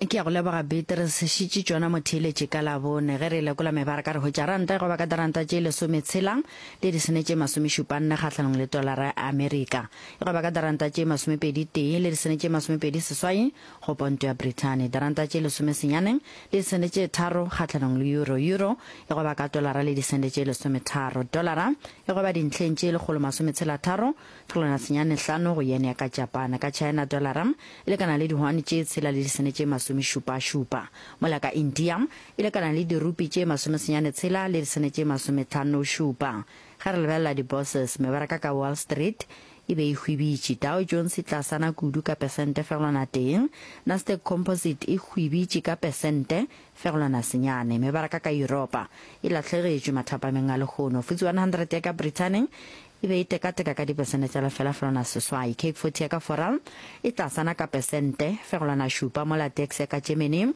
Ke a go leboga Beatrice. Šitše tšona motheeletši ka Labone. Ge re lekola mebaraka re hwetša ranta e goba ka diranta tše lesometshela le disene tše masomešupanne kgahlanong le tolara ya Amerika. E goba ka diranta tše masomepedi tee le disene tše masomepedi seswai go ponto ya Brithani. Diranta tše lesomesenyane le disene tše tharo kgahlanong le euro. Euro e goba ka tolara le disene tše lesometharo. Tolara e goba dintlheng tše lekgolo masometshela tharo Fegelwana senyane hlano go yen ya ka Japane. Ka China dolara e lekana le dihwani tše tshela le disene tše masomešupašupa. Mola ka India e lekana le dirupi tše masomesenyane tshela le disene tše masometlhanošupa. Ge re lebelela di-bourses, mebaraka ka Wall Street e be e hwibitše. Dow Jones e tlasana kudu ka pesente fegelwana tee. Nasdaq Composite e hwibitše ka pesente fegelwana senyane. Mebaraka ka Yuropa e lahlegetšwe mathapameng a lehono. FTSE 100 ya ka Brithani E be e tekateka ka dipesente tša lefela fegelwana seswai. Cape 40 ya ka Fora e tlasana ka pesente fegelwana šupa mola Dax ya ka Germany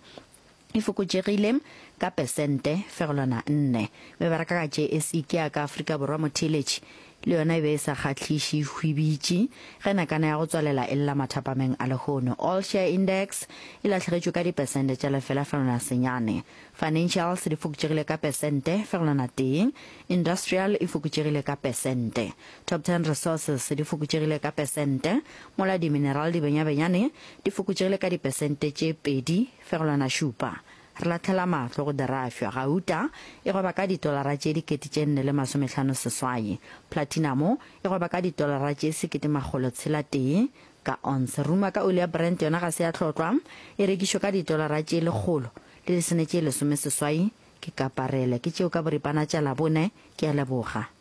e fokotšegile ka pesente fegelwana nne. Mebaraka ka JSE ke ya ka Afrika Borwa motheeletši le yona e be e sa kgahliše e hwibitše ge nakana ya go tswalela e lla mathapameng a lehono. All Share Index e lahlegetšwe ka dipesente tša lefela fegelwana senyane. Financials di fokotšegile ka pesente fegelwana tee, Industrial e fokotšegile ka pesente. Top Ten Resources di fokotšegile ka pesente, mola di-mineral di benyabenyane di fokotšegile ka dipesente tše 2,7. Re lahlela mahlo go dirafšwa, gauta e gweba ka ditolara tše 4508, platinamo e gweba ka ditolara tše 1601 ka onse. Ruma ka oli ya Brent yona ga se ya hlotlwa, e rekišwa ka ditolara tše lekgolo le lesome tše lesomeseswai. Ke kaparele. Ke tšeo ka boripana tša Labone. Ke a leboga.